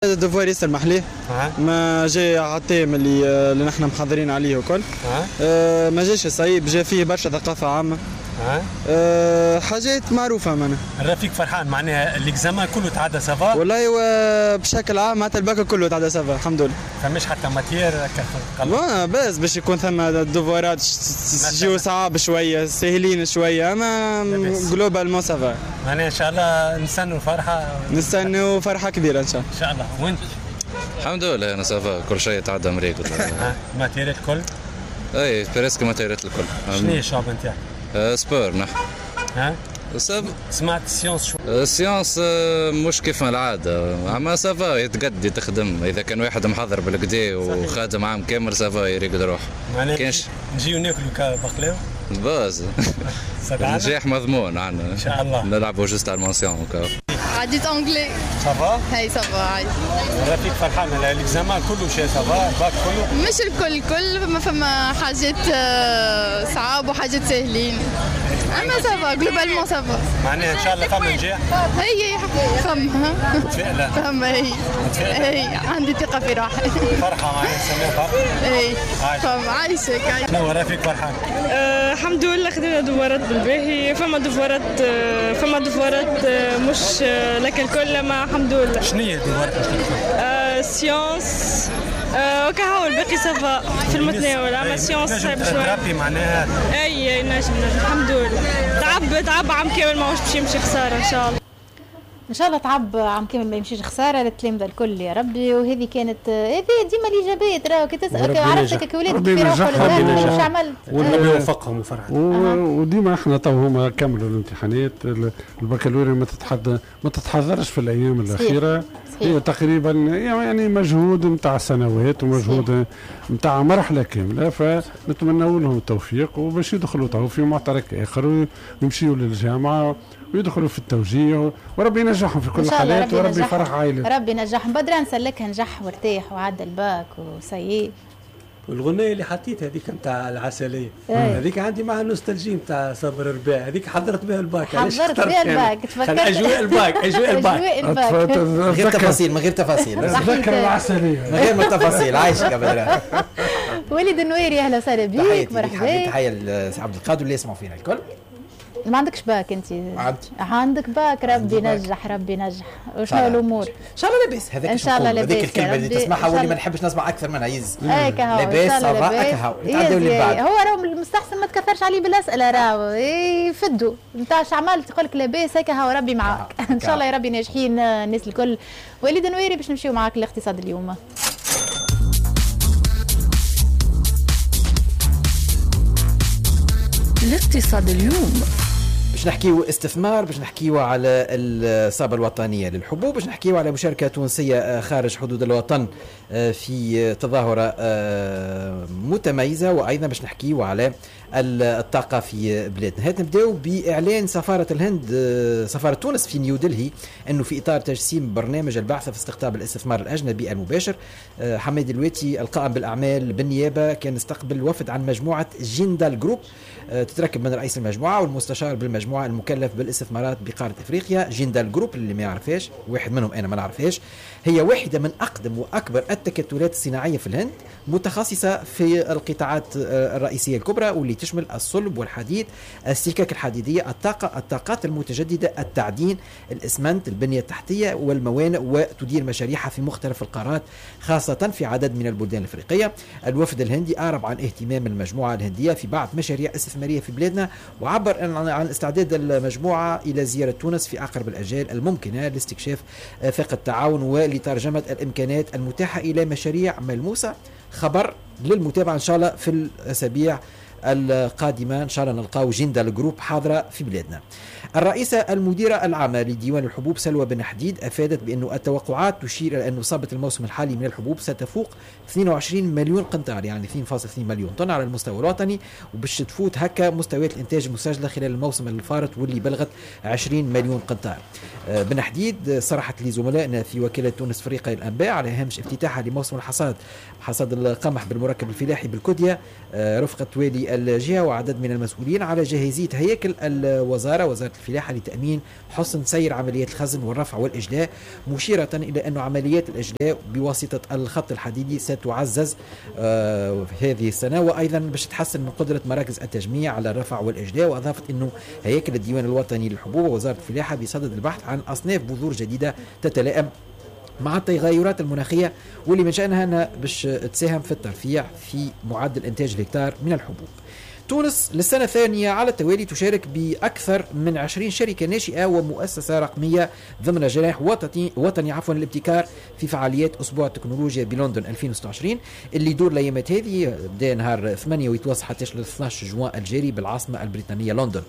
devoir ياسر محليه، ما جاي على ال thème اللي نحن محضرين عليه وكل. ما جاش صعيب، جا فيه برشا ثقافة عامة. حاجات معروفة معناها. الرفيق فرحان معناها l'examen كله تعدى ça va؟ والله بشكل عام معناتها الباك كله تعدى ça va الحمد لله. فماش حتى matière هكا بس باش يكون ثم devoir ات يجيو صعاب شوية ساهلين شوية، اما globalement ça va. معناها ان شاء الله نستنوا فرحه، نستنوا فرحه كبيرة ان شاء الله. ان شاء الله. وانت؟ الحمد لله انا ça va، كل شيء تعدى مريقل. matière ات الكل؟ اي presque matière ات الكل. شنو هي الشعب نتاعك؟ sport نحن. ها؟ سمعت sciences شو؟ sciences مش كيف العادة، اما ça va يتقدي تخدم، إذا كان واحد محضر بالقدي وخادم عام كامل ça va يريقل روحه. معناها نجيو ناكلو بقلاوة؟ باز. النجاح مضمون عندنا. إن شاء الله. نلعبوا juste على ال mention. عديت anglais. ça va؟ هاي ça va عادي. رفيق فرحان l'examen كله شيء ça va، ال bac كله؟ مش الكل كل، فما حاجات صعاب وحاجات ساهلين. اما ça va globalement ça va. معناها ان شاء الله فما نجاح؟ هي فما. متفائلة؟ فما هي. هي عندي ثقة في روحي. فرحة معناها نسميها فرحة؟ اي فما عايشك. شنو رفيق فرحان؟ الحمد لله خدمنا devoir ات بالباهي، فما devoir ات فما devoir ات مش لك الكل، ما الحمد لله. شنو هي devoir ات مش لك الكل؟ sciences وكهو الباقي ça va في المتناول، اما sciences صعيب شوية. ربي معناها اي نجم الحمد لله. تعب عام كامل ماهوش باش يمشي خسارة ان شاء الله. ان شاء الله تعب عام كامل ما يمشيش خسارة للتلامذه الكل يا ربي. وهذه كانت هذه ديما الايجابيات، راهو كي تسال عرفتك ولادك كيف يروحوا للدار واش عملت، وربي يوفقهم وفرحهم. وديما احنا تو هما كملوا الامتحانات، البكالوريا ما تتحضرش في الايام الاخيرة. صحيح. هي تقريبا يعني مجهود نتاع سنوات ومجهود نتاع مرحلة كاملة، فنتمنوا لهم التوفيق وباش يدخلوا تو في معترك اخر ويمشيوا للجامعة ويدخلوا في التوجيه، وربي ينجحهم في كل الحالات، وربي يفرح عائلتهم. ربي ينجحهم. بدران سلكها نجح وارتاح وعدى الباك وسيء. والغنية اللي حطيتها هذيك نتاع العسلية هذيك عندي معها nostalgie نتاع صبر الرباع، هذيك حضرت بها الباك. حضرت بها الباك، تفكرت اجواء الباك، اجواء الباك، من غير تفاصيل، من غير تفاصيل، تذكر العسلية من غير ما تفاصيل. عايشك يا بدران. وليد النويري اهلا وسهلا بيك، مرحبا. تحية لسي عبد القادر اللي يسمعوا فينا الكل. ما عندكش باك انت؟ عندي. عندك باك، ربي نجح، ربي نجح. وشنو الامور؟ ان شاء الله لاباس. هذاك ان شاء الله لاباس، هذيك الكلمة اللي تسمعها واللي ما نحبش نسمع اكثر منها يز. لاباس ça va اكهو، نتعداو اللي بعد. هو راهو المستحسن ما تكثرش عليه بالاسئلة، راهو يفدوا نتاع اش عملت يقول لك لاباس هكا، ربي معاك. ان شاء الله يا ربي ناجحين الناس الكل. وليد نويري باش نمشيو معاك الاقتصاد اليوم. الاقتصاد اليوم باش نحكيو استثمار، باش نحكيو على الصابة الوطنية للحبوب، باش نحكيو على مشاركة تونسية خارج حدود الوطن في تظاهرة متميزة، وأيضا باش نحكيو على الطاقة في بلادنا. هات نبداو بإعلان سفارة الهند، سفارة تونس في نيودلهي، أنه في إطار تجسيم برنامج البعثة في استقطاب الاستثمار الأجنبي المباشر، حماد الواتي القائم بالأعمال بالنيابة كان استقبل وفد عن مجموعة جيندال جروب، تتركب من رئيس المجموعة والمستشار بالمجموعة المكلف بالاستثمارات بقارة إفريقيا. جيندال جروب اللي ما يعرفهاش، واحد منهم أنا ما نعرفهاش، هي واحدة من أقدم وأكبر التكتلات الصناعية في الهند، متخصصة في القطاعات الرئيسية الكبرى واللي تشمل الصلب والحديد، السكك الحديدية، الطاقة، الطاقات المتجددة، التعدين، الإسمنت، البنية التحتية والموانئ، وتدير مشاريعها في مختلف القارات خاصة في عدد من البلدان الإفريقية. الوفد الهندي أعرب عن اهتمام المجموعة الهندية في بعض مشاريع استثمارية في بلادنا، وعبر عن استعداد المجموعة إلى زيارة تونس في أقرب الأجال الممكنة لاستكشاف آفاق التعاون ولترجمة الإمكانات المتاحة إلى مشاريع ملموسة. خبر للمتابعة إن شاء الله في الأسابيع القادمة، إن شاء الله نلقاو جيندال جروب حاضرة في بلادنا. الرئيسة المديرة العامة لديوان الحبوب سلوى بن حديد أفادت بأن التوقعات تشير إلى أن إصابة الموسم الحالي من الحبوب ستفوق 22 مليون قنطار، يعني 2.2 مليون طن على المستوى الوطني، وباش تفوت هكا مستويات الإنتاج المسجلة خلال الموسم الفارط واللي بلغت 20 مليون قنطار. بن حديد صرحت لزملائنا في وكالة تونس فريق الأنباء على هامش افتتاحها لموسم الحصاد، حصاد القمح بالمركب الفلاحي بالكوديا، رفقة والي بالجهة وعدد من المسؤولين على جاهزية هياكل الوزارة وزارة الفلاحة لتأمين حسن سير عمليات الخزن والرفع والإجلاء، مشيرة إلى أن عمليات الإجلاء بواسطة الخط الحديدي ستعزز هذه السنة، وأيضا باش تحسن من قدرة مراكز التجميع على الرفع والإجلاء. وأضافت أنه هياكل الديوان الوطني للحبوب ووزارة الفلاحة بصدد البحث عن أصناف بذور جديدة تتلائم مع التغيرات المناخية واللي من شأنها أنها باش تساهم في الترفيع في معدل إنتاج الهكتار من الحبوب. تونس للسنة الثانية على التوالي تشارك بأكثر من 20 شركة ناشئة ومؤسسة رقمية ضمن جناح وطني الابتكار في فعاليات أسبوع التكنولوجيا بلندن 2026 اللي يدور الأيامات هذه، بدا نهار 8 ويتواصل حتى 12 جوان الجاري بالعاصمة البريطانية لندن.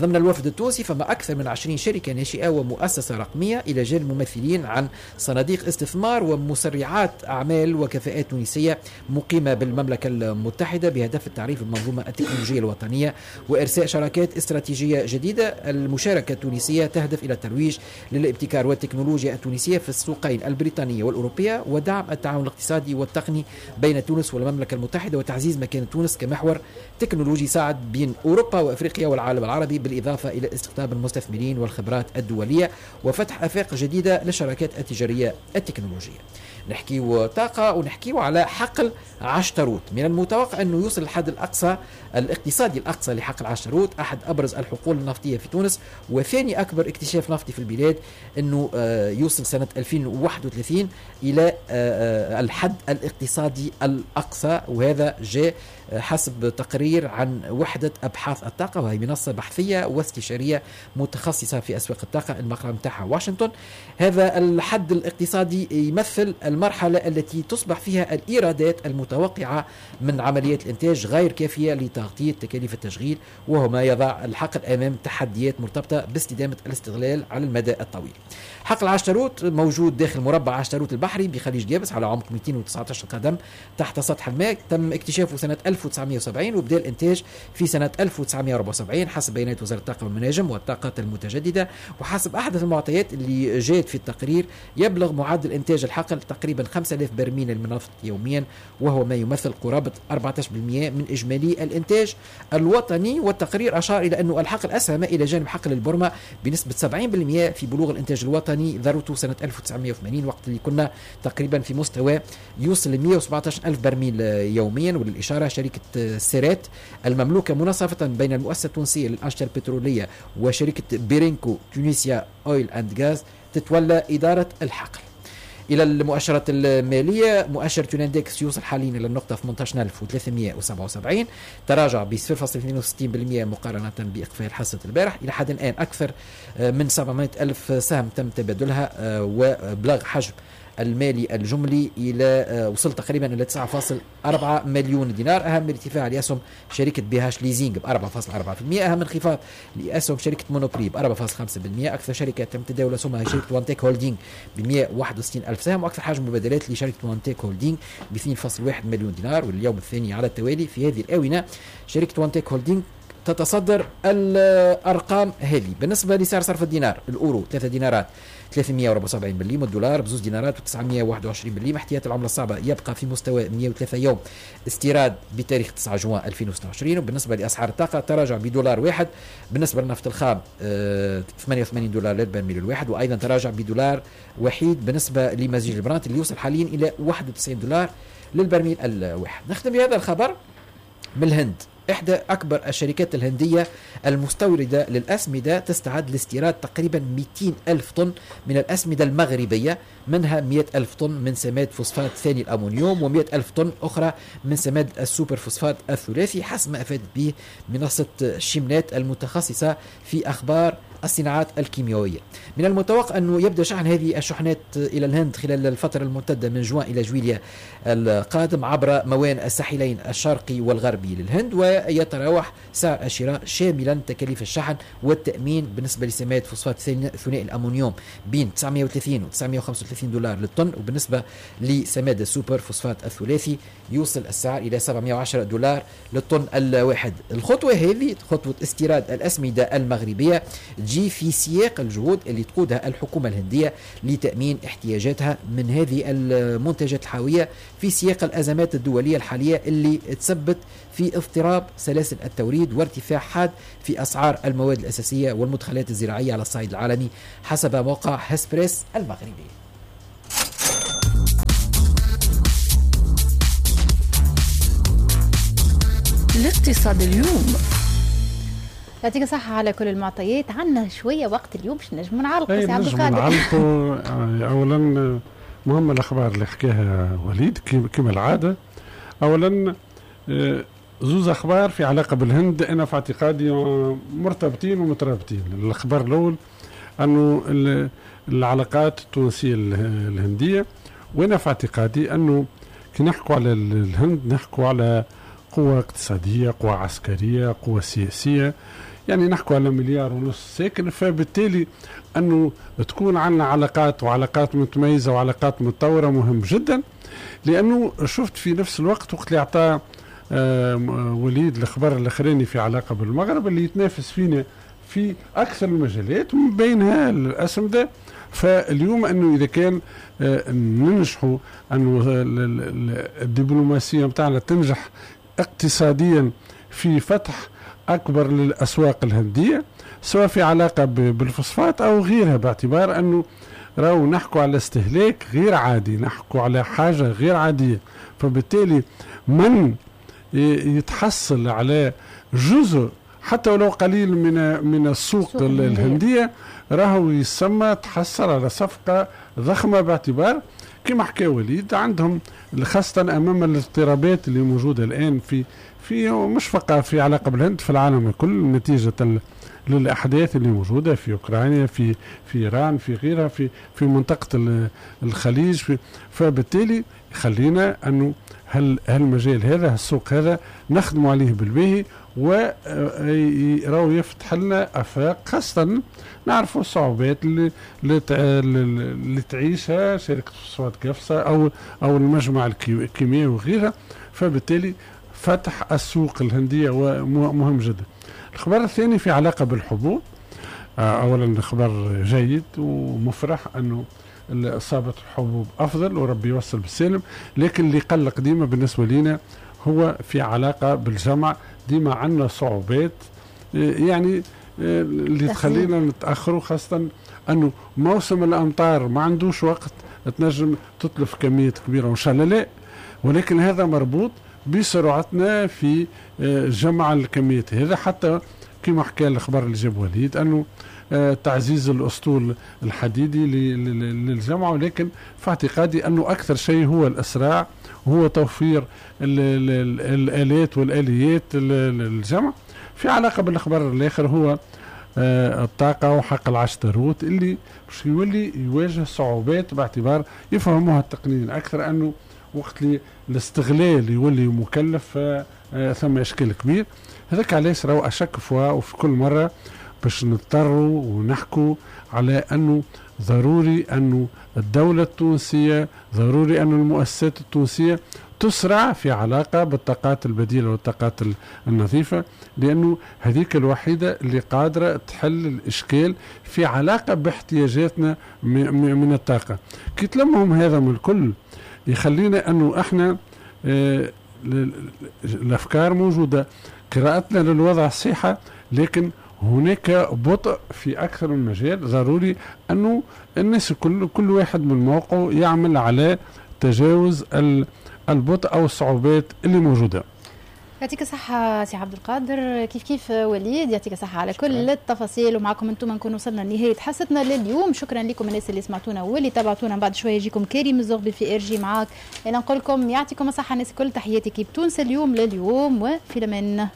ضمن الوفد التونسي فما أكثر من 20 شركة ناشئة ومؤسسة رقمية إلى جانب ممثلين عن صناديق استثمار ومسرعات أعمال وكفاءات تونسية مقيمة بالمملكة المتحدة بهدف التعريف بالمنظومة التكنولوجية الوطنية وإرساء شراكات استراتيجية جديدة. المشاركة التونسية تهدف إلى الترويج للابتكار والتكنولوجيا التونسية في السوقين البريطانية والأوروبية ودعم التعاون الاقتصادي والتقني بين تونس والمملكة المتحدة وتعزيز مكانة تونس كمحور تكنولوجي صاعد بين أوروبا وأفريقيا والعالم العربي، بالإضافة إلى استقطاب المستثمرين والخبرات الدولية وفتح آفاق جديدة للشراكات التجارية التكنولوجية. نحكيو طاقة ونحكيو على حقل عشتروت. من المتوقع أنه يوصل الحد الأقصى الاقتصادي الأقصى لحقل عشتروت، أحد أبرز الحقول النفطية في تونس وثاني أكبر اكتشاف نفطي في البلاد، أنه يوصل سنة 2031 إلى الحد الاقتصادي الأقصى، وهذا جاء حسب تقرير عن وحدة أبحاث الطاقة، وهي منصة بحثية واستشارية متخصصة في أسواق الطاقة، المقر متاعها واشنطن. هذا الحد الاقتصادي يمثل المرحلة التي تصبح فيها الإيرادات المتوقعة من عمليات الإنتاج غير كافية لتغطية تكاليف التشغيل، وهو ما يضع الحقل أمام تحديات مرتبطة باستدامة الاستغلال على المدى الطويل. حقل عشتروت موجود داخل مربع عشتروت البحري بخليج جابس على عمق 219 قدم تحت سطح الماء، تم اكتشافه سنة 1970 وبدأ الإنتاج في سنة 1974 حسب بيانات وزارة الطاقة والمناجم والطاقات المتجددة. وحسب أحدث المعطيات اللي جاءت في التقرير يبلغ معدل إنتاج الحقل تقريبا 5000 برميل من النفط يوميا، وهو ما يمثل قرابة 14% من إجمالي الإنتاج الوطني. والتقرير أشار إلى أن الحقل أسهم إلى جانب حقل البرمة بنسبة 70% في بلوغ الإنتاج الوطني ذروته سنة 1980، وقت اللي كنا تقريبا في مستوى يوصل ل 117 ألف برميل يوميا. وللإشارة شركة سيرات المملوكة مناصفة بين المؤسسة التونسية للأنشطة البترولية وشركة بيرينكو Tunisia Oil and Gas تتولى إدارة الحقل. إلى المؤشرات المالية، مؤشر Tunindex يوصل حاليا إلى النقطة 18377، تراجع ب 0.62% مقارنة بإقفال حصة البارح. إلى حد الآن أكثر من 700 ألف سهم تم تبادلها، وبلغ حجم المالي الجملي إلى وصل تقريبا إلى 9.4 مليون دينار. أهم ارتفاع لأسهم شركة BH Leasing ب 4.4%، أهم انخفاض لأسهم شركة Monoprix ب 4.5%. أكثر شركة تم تداول أسهمها شركة One Tech Holding ب 161 ألف سهم، وأكثر حجم مبادلات لشركة One Tech Holding ب 2.1 مليون دينار. واليوم الثاني على التوالي في هذه الآونة شركة One Tech Holding تتصدر الأرقام هذه. بالنسبة لسعر صرف الدينار، الأورو 3 دينارات 374 مليم، الدولار بزوز دينارات و921 مليم. احتياط العملة الصعبة يبقى في مستوى 103 يوم استيراد بتاريخ 9 جوان 2026. وبالنسبة لأسعار الطاقة تراجع بدولار واحد. بالنسبة للنفط الخام 88 دولار للبرميل الواحد، وأيضا تراجع بدولار وحيد بالنسبة لمزيج البرانت اللي يوصل حاليا إلى 91 دولار للبرميل الواحد. نختم بهذا الخبر من الهند. إحدى أكبر الشركات الهندية المستوردة للأسمدة تستعد لاستيراد تقريبا 200 ألف طن من الأسمدة المغربية، منها 100 ألف طن من سماد فوسفات ثاني الأمونيوم و100 ألف طن أخرى من سماد السوبر فوسفات الثلاثي، حسب ما أفادت به منصة شيمنات المتخصصة في أخبار الصناعات الكيميائية. من المتوقع أنه يبدأ شحن هذه الشحنات إلى الهند خلال الفترة الممتدة من جوان إلى جويليا القادم عبر موانئ الساحلين الشرقي والغربي للهند، ويتراوح سعر الشراء شاملا تكاليف الشحن والتأمين بالنسبة لسماد فوسفات ثنائي الأمونيوم بين 930 و 935 دولار للطن، وبالنسبة لسماد السوبر فوسفات الثلاثي يوصل السعر إلى 710 دولار للطن الواحد. الخطوة هذه خطوة استيراد الأسمدة المغربية تجي في سياق الجهود اللي تقودها الحكومة الهندية لتأمين احتياجاتها من هذه المنتجات الحاوية في سياق الأزمات الدولية الحالية اللي تسبت في اضطراب سلاسل التوريد وارتفاع حاد في أسعار المواد الأساسية والمدخلات الزراعية على الصعيد العالمي حسب موقع هسبريس المغربي. الاقتصاد اليوم. يعطيك الصحة على كل المعطيات. عندنا شوية وقت اليوم باش نجموا نعلقوا سي عبد القادر. نعلقوا أولا مهم الأخبار اللي حكاها وليد كما العادة. أولا زوز أخبار في علاقة بالهند أنا في اعتقادي مرتبطين ومترابطين. الأخبار الأول أنه العلاقات التونسية الهندية، وأنا في اعتقادي أنه كي نحكوا على الهند نحكوا على قوة اقتصادية، قوة عسكرية، قوة سياسية، يعني نحكوا على 1.5 مليار ساكن، فبالتالي أنه تكون عندنا علاقات وعلاقات متميزة وعلاقات متطورة مهم جدا. لأنه شفت في نفس الوقت وقت اللي أعطى وليد الخبر الأخراني في علاقة بالمغرب اللي يتنافس فينا في أكثر المجالات من بينها الأسمدة. فاليوم أنه إذا كان ننجحوا أنه الدبلوماسية متاعنا تنجح اقتصاديا في فتح أكبر للأسواق الهندية سواء في علاقة بالفوسفات أو غيرها، باعتبار أنه راهو نحكوا على استهلاك غير عادي، نحكوا على حاجة غير عادية، فبالتالي من يتحصل على جزء حتى ولو قليل من السوق الهندية راهو يسمى تحصل على صفقة ضخمة، باعتبار كما حكى وليد عندهم خاصة أمام الاضطرابات اللي موجودة الآن في مش فقط في علاقة بالهند، في العالم الكل نتيجة للأحداث اللي موجودة في أوكرانيا، في إيران، في غيرها، في منطقة الخليج، فبالتالي خلينا أنه هالمجال هذا، السوق هذا نخدم عليه بالباهي وراو يفتح لنا افاق، خاصة نعرفوا الصعوبات اللي تعيشها شركة فوسفات قفصه او المجمع الكيميائي وغيرها، فبالتالي فتح السوق الهندية مهم جدا. الخبر الثاني في علاقة بالحبوب، اولا خبر جيد ومفرح انه اصابه الحبوب افضل وربي يوصل بالسالم، لكن اللي قلق ديما بالنسبة لنا هو في علاقة بالجمع، ديما عندنا صعوبات يعني اللي تخلينا نتاخروا، خاصة انه موسم الامطار ما عندوش وقت تنجم تتلف كميات كبيرة وان شاء الله لا، ولكن هذا مربوط بسرعتنا في جمع الكميات هذا. حتى كما حكى الخبر اللي جاب وليد انه تعزيز الاسطول الحديدي للجمع، ولكن في اعتقادي انه اكثر شيء هو الاسراع، هو توفير الالات والاليات للجمع. في علاقة بالاخبار الاخر هو الطاقة وحق العشتروت اللي باش يولي يواجه صعوبات، باعتبار يفهموها التقنيين اكثر انه وقت اللي الاستغلال يولي مكلف ثم اشكال كبير. هذاك علاش راهو اشك فوا وفي كل مرة باش نضطروا ونحكوا على انه ضروري انه الدولة التونسية، ضروري انه المؤسسات التونسية تسرع في علاقة بالطاقات البديلة والطاقات النظيفة، لانه هذيك الوحيدة اللي قادرة تحل الاشكال في علاقة باحتياجاتنا من الطاقة. كي تلمهم هذا من الكل يخلينا انه احنا الافكار موجودة، قراءتنا للوضع صحيحه، لكن هناك بطء في أكثر من مجال. ضروري أنه الناس كل واحد من موقعه يعمل على تجاوز البطء أو الصعوبات اللي موجودة. يعطيك الصحة سي عبد القادر، كيف كيف وليد، يعطيك الصحة على كل التفاصيل. ومعكم انتم نكون وصلنا لنهاية حصتنا لليوم. شكرا لكم الناس اللي سمعتونا واللي تابعتونا. بعد شوية يجيكم كريم الزغبي في ارجي معاك. انا نقول لكم يعطيكم الصحة الناس الكل. تحياتي كيف تونس اليوم لليوم، وفي الامان.